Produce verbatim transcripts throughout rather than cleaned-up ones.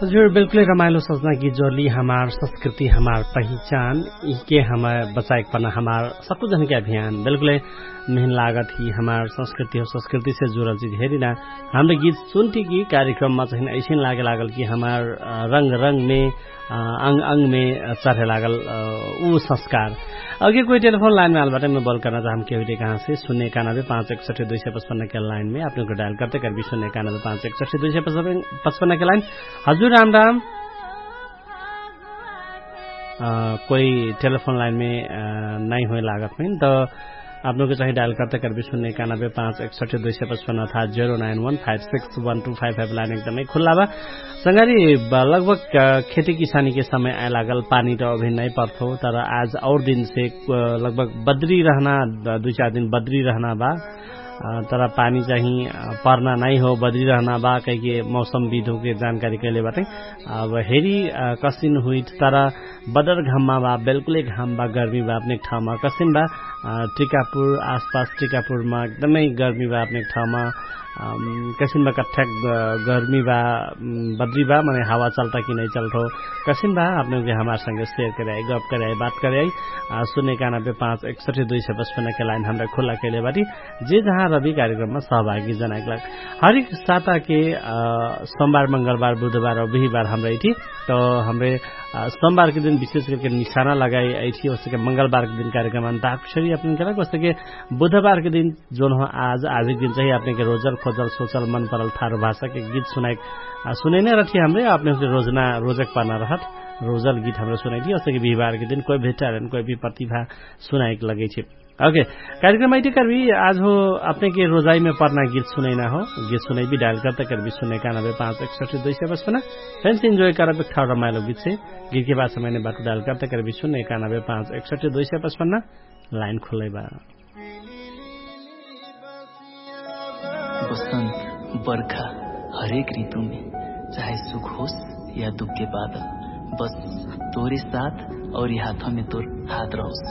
हजुर बिल्कुलै रमाइलो सजना कि जोरली हमार संस्कृति हमार पहिचान इहके हमार बचाएक पना हमार सकुजनके अभियान बिल्कुलै मेहन लागत कि हमार संस्कृति हो संस्कृतिसे जुरल चिज हेरिना। हमरे गीत सुन्ति कि कार्यक्रममा चाहिन ऐसिन लागे लागल कि हमार रंग रंगमे अंग अंगमे चर्हे लागल उ संस्कार। अगे कोइ टेलिफोन लाइनमे आलबाटै मै बल कर्ना चाहम केहुइटे कहाँसे सुन्ने एकानबे पाँच एकसठ्ठी दुइ सय पचपन्नके लाइनमे अपनेको डायल कर्ते कर्बी सुन्ने एकानबे पाँच एकसठ्ठी दुइ सय पचपन्नके लाइन। हजुर राम राम। कोइ टेलिफोन लाइनमे नाइ होइ लागत हुइन त अपनेको चाहि डायल कर्ते कर्बी सुन्ने एकानबे पाँच एकसठ्ठी दुइ सय पचपन्न अर्थात zero nine one five six one two five five line एकदमै खुल्ला बा। संगारी लगभग खेती किसानीके समय आइ लागल पानी त अभिन नाइ पर्थो तर आज और दिनसे लगभग बद्री रहना दुइ चार दिन बद्री रहना बा। तर पानी चाहि पर्ना नाइ हो बद्री रहना बा कहिके मौसम विधुके जानकारी कैले बाटै। अब हेरी कसिन हुइट तर बदर घाममा बा बेल्कुलै घाम बा गर्मी बा अपनेक ठाउँमा कसिन बा? टिकापुर आसपास टिकापुरमा एकदमै गर्मी बा अपनेक ठाउँमा कसिन बा कठ्ठ्याक गर्मी बा बद्री बा मने हावा चल्टा कि नाइ चल्ठो? कसिन बा अपनेक हमार संगे सेयर करे आइ गफ करे आइ बात करे आइ। सुन्ने एकानबे पाँच एकसठ्ठी दुइ सय पचपन्नके लाइन हमरा खुल्ला कैले बाटी। जे जहाँ रबी कार्यक्रममा सहभागी जनाइक लाग हरिक साताके सोमबार मंगलबार बुधबार और बिहिबार हमरा इठी त हमरे सोमबारके दिन विशेष करके निशाना लगाइ आइठी ओसके मंगलबारके दिन कार्यक्रम अन्ताक्षरी अपनके लाग ओसके बुधबारके दिन जोन हो आज आजके दिन चाहि अपनेके रोजल खोजल सोचल मन परल थारु भाषाके गीत सुनाइक सुनैना रहठी हमरे अपने रोजना रोजक पाना रहत रोजल गीत हमरा सुनैठी ओसके बिहिबारके दिन कोइ भेटारेन कोइ भी प्रतिभा सुनाइक लगैठी। ओके। कार्यक्रम आइटी कर्बी आज हो अपने के रोजाई में परना गीत सुनैना हो। गीत सुनैबी डायल करता कर्बी सुनैका नबे पाँच एकसठी दुई सय पचपन्न। फेन्स इन्जोय करबे ठाउर रमाइलो गीत से। गीत के बाद समयने बाटु डायल करता कर्बी सुनैका नबे पाँच एकसठी दुई सय पचपन्न। लाइन खुल्लै बा। बसन्त बर्खा हरेक ऋतुमे चाहे सुख होस या दुख के बादल, बस तोरे साथ और यि हाथमे तोर हाथ रहोस।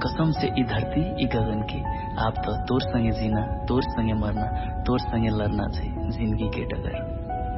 कसम से यि धर्ती यि गगन के, आप त तोर संगे जिना, तोर संगे मर्ना, तोर संगे लर्ना छै जिन्दगी के डगर।